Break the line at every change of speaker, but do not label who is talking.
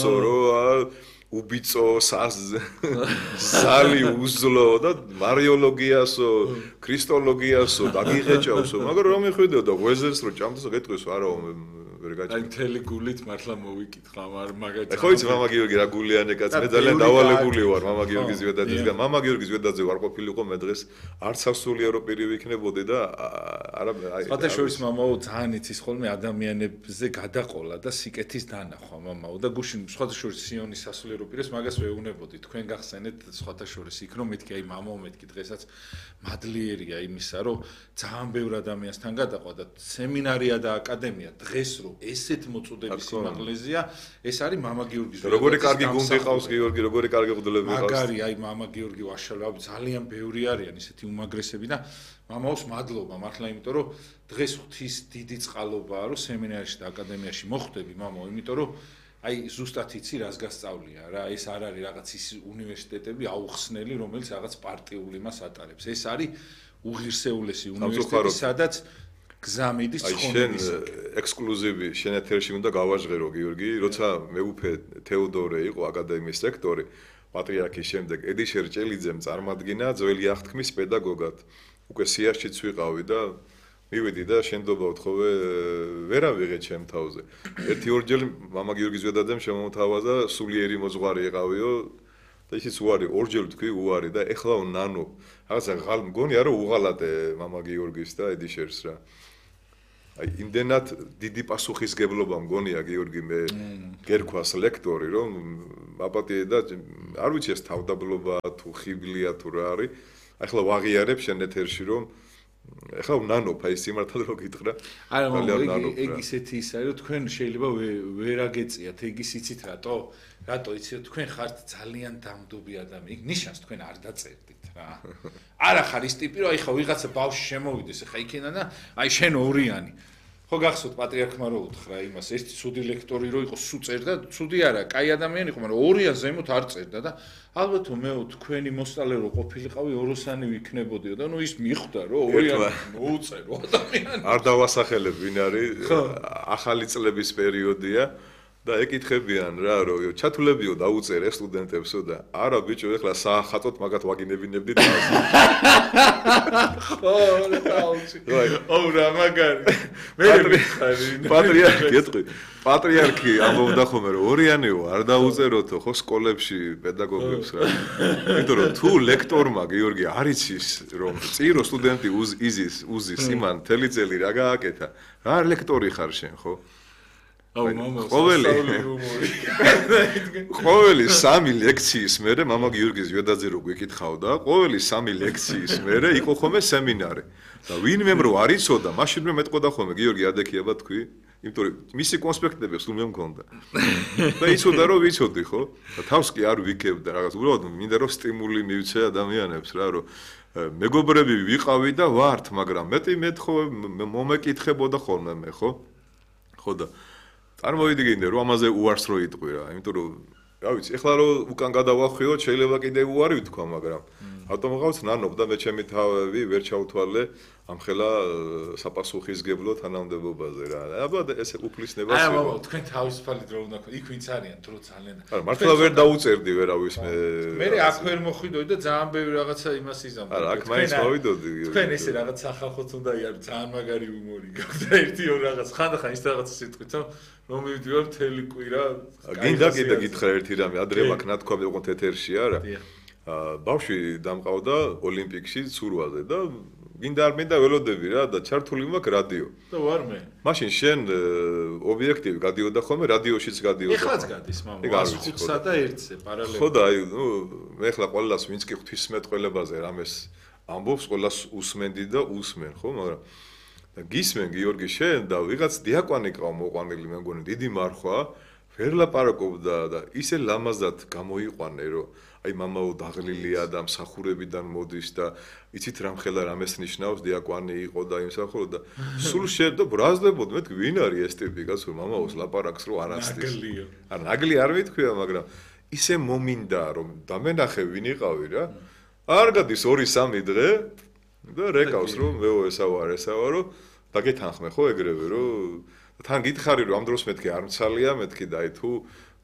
სორო უბიწო ზალი უზლო და მარიოლოგიასო ქრისტოლოგიასო დაგიღეჭავსო მაგრამ რომ მიხვიდეო და ღვეზეს რო ჭამდასო გეტყვისო არა ვერ გაჭირდა
აი მთელი გულით მართლა მოვიკითხა მაგაჭა
ხო იცი მამა გიორგი რა გულიანი კაც მე ძალიან დავალებული ვარ მამა გიორგის ზედაძესგან მამა გიორგის ზედაძე ვარ ყოფილიყო მე დღეს არც სასულიერო პირი ვიქნებოდი და არა აი
სხვადასხვის მამაო ძალიან იცის ხოლმე ადამიანებზე გადაყოლა და სიკეთის დანახვა მამაო და გუშინ სხვადასხვის სიონის სასულიერო პირას მაგას ვეუბნებოდი თქვენ გახსენეთ სხვადასხვის იქ რომ მეთქი აი მამაო მეთქი დღესაც მადლიერია იმისა რომ ძალიან ბევრ ადამიანსთან გადაყვა და სემინარია და აკადემია დღეს რომ ესეთ მოწოდების სიმაღლეზეა ეს არის მამა გიორგის
როგორი კარგი გუნდი ყავს გიორგი როგორი კარგი ღუდლები ყავს
მაგარი აი მამა გიორგი ვაშალავ ძალიან ბევრი არიან ისეთი უმაგრესები და მამაოს მადლობა მართლა იმიტომ რომ დღეს ღვთის დიდი წყალობაა რომ სემინარიაში და აკადემიაში მოხვდები მამაო იმიტომ რომ აი ზუსტად იცი რას გასწავლია რა ეს არ არის რაღაც ის უნივერსიტეტები აუხსნელი რომელიც რაღაც პარტიული მას ატარებს ეს არის უღირსეულესი უნივერსიტეტი სადაც გზამიდის ცხონების
ექსკლუზივი შენ ეთერში უნდა გავაჟღერო გიორგი როცა მეუფე თეოდორე იყო აკადემიის რექტორი პატრიარქის შემდეგ ედიშერ ჭელიძემ წარმადგინა ძველი აღთქმის პედაგოგად უკვე სიაშიც ვიყავი და მივიდი და შენდობა ვთხოვე ვერა ვიღე ჩემ თავზე ერთი ორჯერ მამა გიორგის ზედაძემ შემომთავაზა სულიერი მოძღვარი იყავიო და ისიც უარი ორჯერ თქვი უარი და ეხლა ნანო რაღაცა ღალ მგონია რომ უღალატე მამა გიორგის და ედიშერს რა აი იმდენად დიდი პასუხისგებლობა მგონია გიორგი მე გერქვას ლექტორი რომ აპატიე და არ ვიცი ეს თავდაბლობა თუ ხიბლია თუ რა არის ახლა ვაღიარებ შენ ეთერში რომ ახლა ნანოფ აი სიმართლე რო გითხრა
არა მაგრამ ეგ ისეთი ის არის რომ თქვენ შეიძლება ვერ აგეწიათ ეგ ის იცით რატო იცით თქვენ ხართ ძალიან დამდობი ადამიანი იქ ნიშანს თქვენ არ დაწერდით რა არა ხარ ის ტიპი რომ აი ხა ვიღაცა ბავშვი შემოვიდეს ხა იქიდან და აი შენ ორიანი ხო გახსოვთ პატრიარქმა რო უთხრა იმას ერთი ცუდი ლექტორი რო იყო სუ წერდა ცუდი არა კაი ადამიანი იყო მაგრამ ორიან ზემოთ არ წერდა და ალბათ მეო თქვენი მოსწავლე რო ყოფილიყავი ოროსანი ვიქნებოდიო და ნუ ის მიხვდა რომ ორიან მოუწერო ადამიანი
არ დავასახელებ ვინ არის ახალი წლების პერიოდია და ეკითხებიან რა რომ ჩათულებიო დაუწერე სტუდენტებსო და არა ბიჭო ეხლა საახატოთ მაგათ ვაგინებინებდით
ხო დაუცი ო რა მაგარი მე
პატრიარქი ეთქვი პატრიარქი ამბობდა ხოლმე რომ ორიანიო არ დაუწეროთო ხო სკოლებში პედაგოგებს რა იმიტომ რომ თუ ლექტორმა გიორგი არ იცის რომ წირო სტუდენტი უზის იმან თელი წელი რა გააკეთა რა ლექტორი ხარ შენ ხო
აუ მამა
ყოველი 3 ლექციის მერე მამა გიორგის ზედაძე რო გვეკითხავდა ყოველი 3 ლექციის მერე იყო ხოლმე სემინარი და ვინმე რო არ იცოდა მაშინვე მეტყოდა ხოლმე გიორგი ადექიება თქვი იმიტომ რომ მისი კონსპექტები სულ მე მქონდა და იცოდა რომ ვიცოდი ხო და თავს კი არ ვიქებდა რაღაც უბრალოდ მინდა რომ სტიმული მივცე ადამიანებს რა რომ მეგობრები ვიყავი და ვართ მაგრამ მეტი მეთხოვე მომეკითხებოდა ხოლმე მე ხო და წარმოვიდგინე რომ ამაზე უარს რო იტყვი რა იმიტომ რომ რა ვიცი ეხლა რომ უკან გადავახვიოთ შეიძლება კიდე უარი ვთქვა მაგრამ ავტომატურად ნანობ და მე ჩემი თავი ვერ ჩავთვალე ამ ხელა საპასუხისგებლო თანამდებობაზე რა აბა ესე უფლისნებას
არა მამა თქვენ თავისუფალი დრო უნდა იქ ვინც არიან დრო ძალიან
არა მართლა ვერ დაუწერდი ვერავის
მე აქ ვერ მოხვიდოდი და ძალიან ბევრი რაღაცა იმას იზამთრე
არა აქ მაინც მოვიდოდი
თქვენ ესე რაღაც სახალხოც უნდა იარო ძალიან მაგარი უმორი გაქვს და ერთი ორ რაღაც ხანდახან ის რაღაცა სიტყვით რომ მივიდივარ მთელი კვირა
გინდა გითხრა ერთი რამე ადრე მაგ ნათქვამი ოღონდ ეთერში არა ბავშვი დამყავდა ოლიმპიკში ცურვაზე და გინდა არ მინდა ველოდები რა და ჩართული მაქვს რადიო
და ვარ მე
მაშინ შენ ობიექტივი გადიოდა ხოლმე რადიოშიც გადიოდა
ეხლაც გადის მამა 105-სა და 1-ზე პარალელურად
ხო და აი ნუ მე ახლა ყველას ვინც კი ღვთისმეტყველებაზე რამეს ამბობს ყველას უსმენდი და უსმენ ხო მაგრამ და გისმენ გიორგი შენ და ვიღაც დიაკვანი ყავ მოყვანილი მე მგონი დიდი მარხვა ვერ ლაპარაკობდა და ისე ლამაზად გამოიყვანე რომ აი მამაო დაღლილია და მსახურებიდან მოდის და იცით რამხელა რამეს ნიშნავს დიაკვანი იყო და იმსახურო და სულ შეერთდა ბრაზდებოდ მეთქი ვინ არის ეს ტიპი კაცო მამაოს ლაპარაკს რო არ ასწის არ ნაგლი არ მithქვია მაგრამ ისე მომინდა რომ დამენახე ვინ იყავი რა არ გადის 2-3 დღე და რეკავს რომ მეო ესავა რომ დაგეთანხმე ხო ეგრევე რომ თან გითხარი რომ ამ დროს მეთქი არ მცალია მეთქი და აი თუ